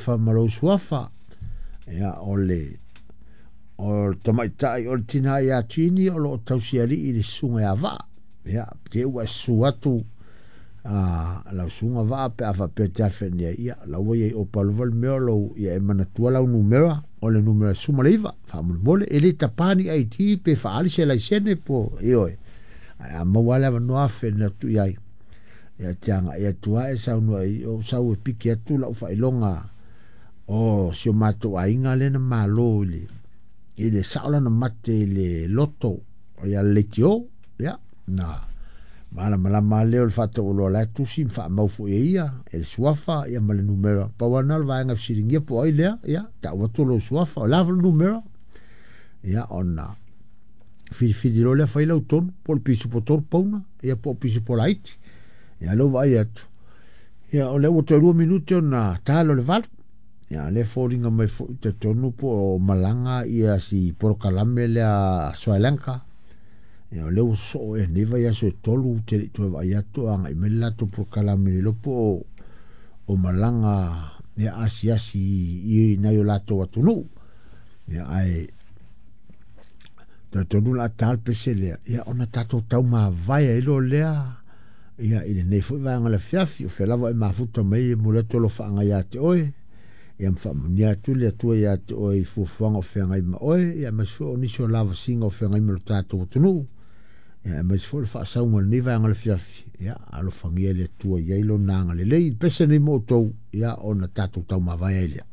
suafa ma lou suafa. Ia, o le o le tamaitai o le tina ia Tini o lo o tausialii i le susuga ia Vaa. Ia, te ua e susu atu a lau susuga Vaa pe a faapea e te afe ane ai, ia, la ua i ai opa lava le mea o lou, ia e manatua lau numera, o le numera 19, faamolemole, e le tapa ni ID pe faaali se laisene po, ioe, ae a maua lava le avanoa afe ane atu i ai. Ia te agai atu lava e saunoa i ou sau e piki atu lau faailoga o si o matou aiga lea na malo i le sao lana mate i le loto ia le leitio. Ia, na malamalama lea o le faataualoa la e tusi ma faamau foi e ia e le suafa ia ma le numera. Pau lava lena o le vaega e fesiligia po o ai lea, ia tau atu lou suafa, o le a foi le numera. Ia ona filifili loa lea fai lau tonu, po o le pisupo 3 pauna, ia po o pisupo laiti. Ia lea ua vaai atu, ia o lea ua toe 2 minute ona talo le 8. Ia lea foliga mai foi talitonu po o malaga ia si polokalame lea Sri Lanka. Ia o lea ua sosoo ea nei vaiaso e 3 ou te le i toe vaai atu o agai mai le latou polokalame le iloa po o malaga ia asiasi i nai o latou atunuu. Ia ae talitonu o le a ta le pese lea, ia ona tatou taumavae ai loa lea ia i lenei foi vaega o le afiafi. O fea lava e mafuta mai e momoli atu alofaaga ia te oe, ia ma faamanuia atu le Atua ia te oe i fuafuaga o feagai ma oe, ia aemaise foi o nisi o lavasiga o feagai ma lo tatou atunuu, ia aemaise foi o le faasauga o lenei vaega o le afiafi. Ia alofagia e le Atua i ai lona agalelei. I le pese nei mo outou, ia ona tatou taumavae ai lea.